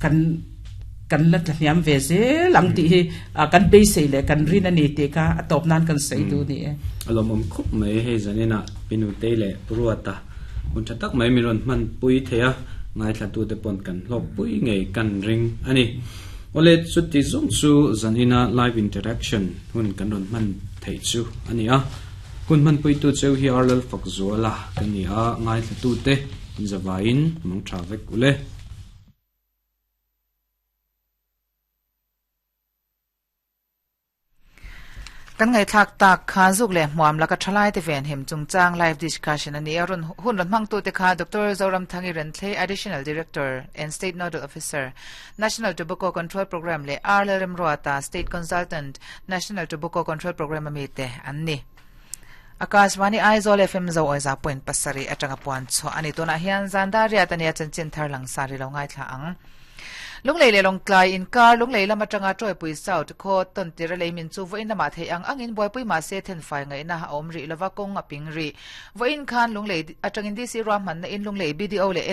kan kan la tlahniam ve zel ang tih hi kan beisei leh kan rin a ni tih kha a tawp nan kan sawi duh ni e. A lawmawm khawp mai hei zaninah Pinutei leh Ruata hun tha tak mai min rawn hmanpui thei a, ngaithlatute pawn kan hlawkpui ngei kan ring a ni. Awle chuti zawng chu zanina live interaction hun kan rawn hman theih chu a ni a. Hun hmanpuitu cheu hi Arlal Fakzuala ka ni a, ngaithlatute inzavaiin mang tha vek ule. Kan ngaihthlak tak kha zuk leh hmuam laka thalai te venhim chungchang live discussion a ni a, rawn hun rawn hmangtute kha Doctor Zoramthangi Renthlei, Additional Director and State Nodal Officer, National Tobacco Control Programme leh R Lalremruata, State Consultant, National Tobacco Control Programme a mite an ni. Akashvani Aizawl FM Zo Awiza point pasarih atanga puan chhuah a ni. Tunah hian zan dar riat a nia chanchin thar langsar i lo ngaithla ang. Lunglei leh Lawngtlai inkar Lunglei lam atanga Tawipui South khaw tawn tir a lei min chu vawiin lamah theih ang angin buaipui mahse thenfai ngaihna a awm rih lova kawng a ping rih. Vawiin khan Lunglei atangin DC ruahmanna in Lunglei BDO leh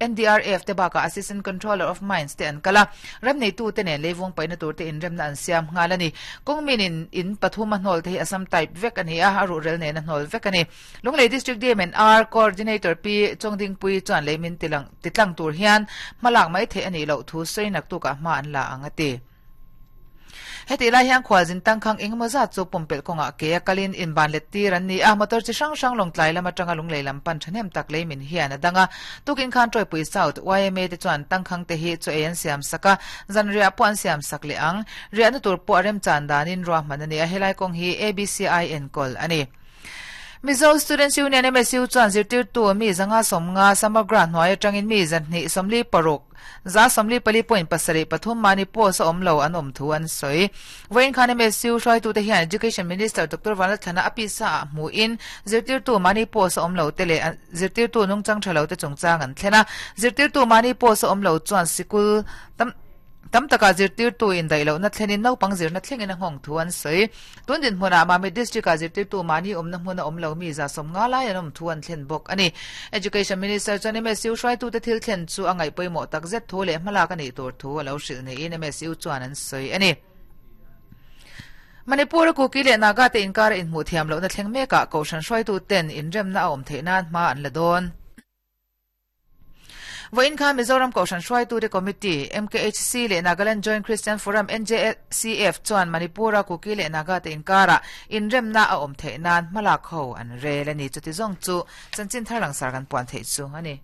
NDRF te bakah Assistant Controller of Mines te an kal a, ram neitute nen leivung paihna tur te inremna an siam nghal a ni. Kawng min in in pathum a hnawl te hi Assam type vek a ni a, a ruhrel nen a hnawl vek a ni. Lunglei District DMNR Coordinator Pi Chawngdingpuii chuan lei min tilang titlang tur hian hmalak mai theih a nih loh thu sawi naktukah hma an la ang a ti. Hetih lai hian khualzin tangkhang engemaw zat chu pumpelh kawngah ke a kalin inban let tir an ni a, motor chi hrang hrang Lawngtlai lam atanga Lunglei lam pan thahnem tak lei min hian a dang a. Tukin khan Tawipui South yma te chuan tangkhang te hi chaw ei an siam sak a, zanriah pawh an siam sak leh ang. Riahna tur pawh a remchan danin ruahman a ni a, helai kawng hi ABCI enkawl a ni. Mizo Students Union, MSU, chuan zirtirtu mi zanga sawmnga Samagra hnuai atangin mi zahnih sawmli paruk, 144 point pasarih pathum mahni post a awm lo an awm thu an sawi. Vawiin khan MSU hruaitute hian Education Minister Doctor Vanlalthlana a pisa ah hmuhin zirtirtu mahni post a awm lo te leh zirtirtu nungchang tha lo te chungchang an thlen a. Zirtirtu mahni post a awm lo chuan sikul tam Tam takah zirtirtu indaih lohna thlenin naupang zirna thlengin a nghawng thu an sawi. Tun dinhmunah Mamit District-ah zirtirtu mahni awmna hmuna awm lo mi 150 lai an awm thu an thlen bawk a ni. Education Minister chuan MSU hruaitute thil thlen chu a ngaih pawimawh takzet thu leh hmalak a nih tur thu a lo hrilh niin MSU chuan an sawi a ni. Manipur-a Kuki leh Naga te inkara inhmuh thiam lohna thleng mekah Kohhran hruaituten inremna a awm theih nan hma an la dawn. Vawiin khan Mizoram Kohhran Hruaitute Committee, MKHC, leh Nagaland Joint Christian Forum, NJCF, chuan Manipur-a Kuki leh Naga te inkarah inremna a awm theih nan hmalak ho an rel a ni. Chuti zawng chu chanchin thar langsar kan puan theih chu a ni.